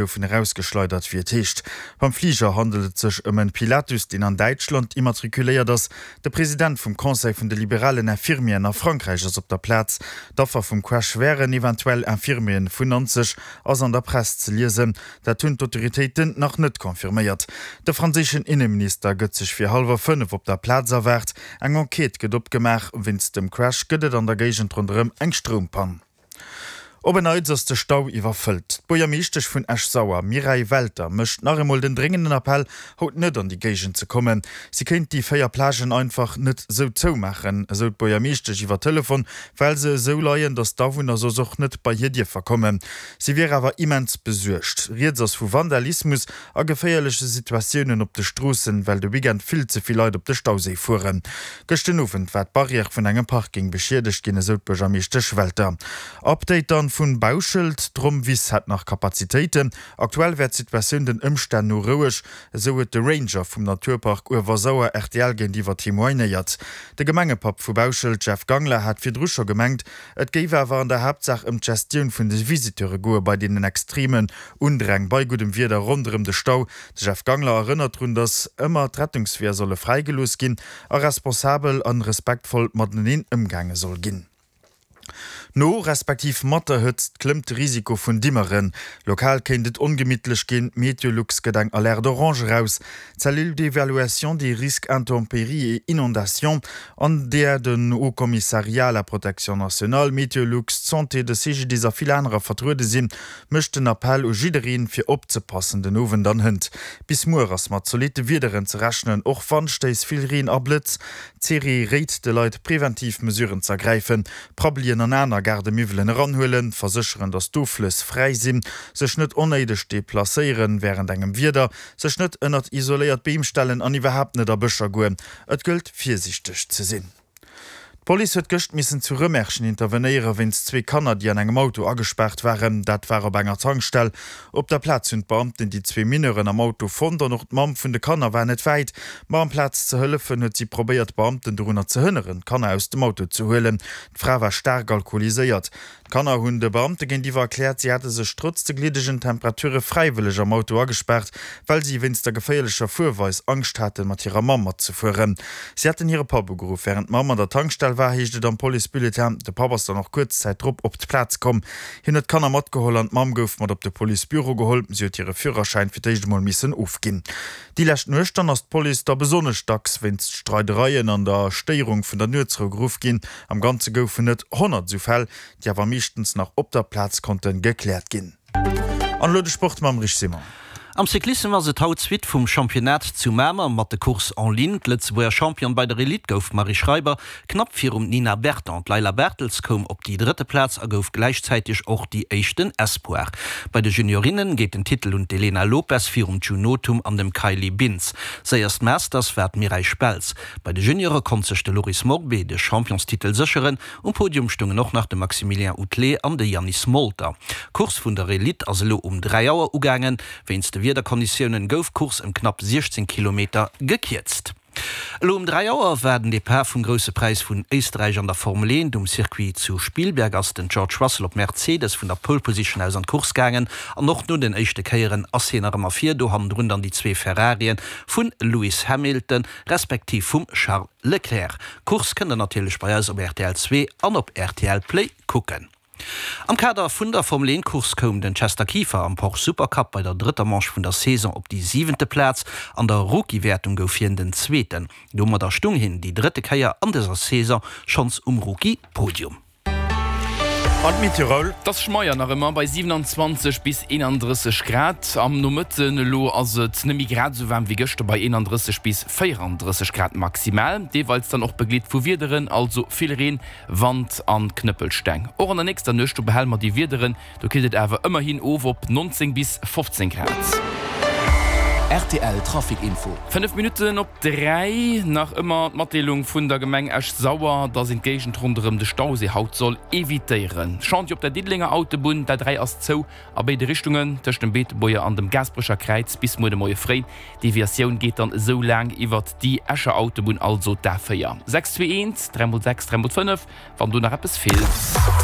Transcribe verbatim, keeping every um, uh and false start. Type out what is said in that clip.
Goufen erausgeschleidert, wéi et heescht. Beim Fliger handelt et sech ëm en Pilatus, deen an Däitschland immatrikuléiert ass. De President vum Conseil vun de liberalen Infirmieren a Frankräich ass op der Plaz. D'Affer vum Crash wären eventuell Infirmieren vun Nanzeg, ass an der Press ze liesen. Dat hunn d'Autoritéiten nach net confirméiert. De franséischen Inneminister gëtt sech fir hallwer fënnef op der Plaz erwaart. Eng Enquête gëtt opgemaach. Wéinst dem Crash gëtt et an der Géigend ronderëm eng Stroumpann. Op en Neits ass de Stau iwwerfëllt. D'Buergermeeschtesch vun Esch-Sauer, Mireille Welter, mécht nach emol den dréngenden Appell, haut net an déi Géigend ze kommen. Si kéint déi véier Plagen einfach net esou zoumaachen, esou d'Buergermeeschtesch iwwer Telefon, well se esou leien, datt d'Awunner soss och net bei hir dierfer kommen. Si wier awer immens besuergt. Rieds ass vu Vandalismus a geféierleche Situatiounen op de Stroossen, well de Weekend vill ze vill Leit op de Stauséi fueren. Gëscht den Owend war d'Barrière vun engem Parking beschiedegt ginn, esou d'Buergermeeschtesch Welter. Update dann vun Bauschelt, D'Rommwiss hätt nach Kapazitéiten. Aktuell wär d'Situatioun den Ëmstänn no roueg, esou huet de Ranger vum Naturpark Uewersauer rtl géintiwwer témoignéiert. De Gemengepapp vu Bauschelt, Jeff Gangler, hat virdru scho gemengt, et géif awer an der Haaptsaach ëm d'Gestioun vun de Visiteure goe bei deenen extremen Undräng bei guddem Wieder ronderëm de Stau. De Jeff Gangler erënnert drun, datt ëmmer d'Rettungsweeër solle fräigelooss ginn a responsabel a respektvoll mateneen ëmgaange soll ginn. No respektiv mat der Hëtzt klëmmt de Risiko vun Dimmeren. Lokal kéint et ongemittlech ginn, Meteolux gëtt eng Alerte orange eraus. D'Cellule d'évaluation des risques intempéries et inondations, an där den Haut Commissariat à la protection nationale, Meteolux, d'Santé, de CGDIS a vill anerer vertruede sinn, mécht den Appell u jiddereen, fir opzepassen den Owend an hënt. Bis muer ass mat zolitte Wiederen ze rechnen, och Wandstéiss, vill Reen a Blëtz. D'Serie réit de Leit, preventiv Mesuren z'ergräifen, Prabbelien an aner Gaardemiwwelen eranhuelen, versécheren, datt d'Offlëss fräi sinn, sech net onnéideg deplacéieren wärend engem Wieder, sech net ënnert isoléiert Beem stellen an iwwerhaapt net a Bëscher goen. Et gëllt virsiichteg ze sinn. D'Police huet gëscht missen zu Rëmerschen intervenéiere wéinst zwee Kanner, déi an engem Auto agespaart waren. Dat war op enger Tankstell. Op der Plaz hunn d'Beamten déi zwee Mineuren am Auto fonnt an och d'Mamm vun de Kanner war net wäit. Ma amplaz ze hëllefen, huet si probéiert, d'Beamten dorunner ze hënneren, d'Kanner aus dem Auto ze huelen. D'Fra war staark alkoholiséiert. D'Kanner hunn de Beamte géintiwwer erkläert, si hätte sech trotz de gliddegen Temperature fräiwëlleg am Auto agespaart, well si wéinst der geféierlecher Fuerweis Angscht haten, mat hirer Mamm matzefueren. Si hätten hire Papp ugeruff, wärend d'Mamm an der Tankstell war, heescht et am Policebulletin. De Papp ass dann och kuerz Zäit drop op d'Plaz komm. Hien huet d'Kanner matgeholl an d'Mamm gouf mat op de Policebüro geholl. Si huet hire Führerschäin fir d'éischt emol missen ofginn. Déi lescht Nuecht dann ass d'Police da besonnesch dacks wéinst Streidereien an der Stéierung vun der Nuetsrou geruff ginn. Am Ganze goufen et honnert esou Fäll, déi awer meeschtens nach op der Plaz konnte gekläert ginn. An elo de Sport mam Rich Simon. Am Cyclissem ass et haut d'Suite vum Championnat zu Mamer mat de Courses en ligne. D'Lëtzebuerger Championne bei der Elite gouf d'Marie Schreiber, knapp virum Nina Berton. D'Layla Bertels koum op déi drëtte Plaz a gouf gläichzäiteg och déi éischten Espoir. Bei de Juniorinne geet den Titel un d'Elena Lopes virum June Nothum an dem Kylie Bintz. Séierst Masters war d'Mireille Speltz. Bei de Juniore konnt sech de Loris Morbé de Championstitel sécheren. Um Podium stoungen och nach de Maximilien Outelet an de Yannis Molter. D'Course vun der Elite ass elo um dräi Auer ugaangen. Wéinst de Wiederkonditiounen gouf d'Course ëm knapp siechzéng Kilometer gekierzt. Elo um dräi Auer war den Depart vum Grousse Präis vun Éisterräich an der Formel eent. Um Circuit zu Spielberg ass den George Russell op Mercedes vun der Pole Position aus an d'Course gaangen an och no den éischte Kéieren ass hien nach ëmmer vir. Do hannendrun dann déi zwee Ferrarien vun Lewis Hamilton respektiv vum Charles Leclerc. D'Course kënnt der natierlech bei eis op rtl zwee an op rtl Play kucken. Am Kader vun der Formel eent Course koum den Chester Kieffer am Porsche Supercup bei der drëtter Manche vun der Saison op déi siwente Plaz. An der Rookie-Wäertung gouf hien den Zweeten. Domadder stung hien déi drëtte Kéier an dëser Saison schonns um Rookie-Podium. An d'Meteo Raoul? Et ass schmeier nach ëmmer bei siewenanzwanzeg bis eenandrësseg Grad. Am Nomëtten elo ass et net méi grad esou waarm wéi gëschter bei eenandrësseg bis véierandrësseg Grad maximal, deeweils dann och begleet vu Wiederen, also vill Reen, Wand an Knëppelsteng. Och an der nächster Nuecht, do behale mer déi Wiederen, do killt et awer ëmmerhin of op nonzéng bis fofzéng Grad. Rtl Trafic Info. Fënnef Minutten op dräi, nach ëmmer d'Matdeelung vun der Gemeng Esch-Sauer, dass een d'Géigend ronderëm de Stauséi haut soll evitéieren. Chantier op der Diddelenger Autobunn, D'A dräi ass zou a béide Richtungen tëscht dem Beetebuerger an dem Gaasperecher Kräiz bis muer de Moie fréi. D'Deviatioun geet dann esou laang iwwert déi Escher Autobunn, also d'A véier. Sechs zwee eent, dräi mol sechs, dräi mol fënnef, wann do nach eppes feelt.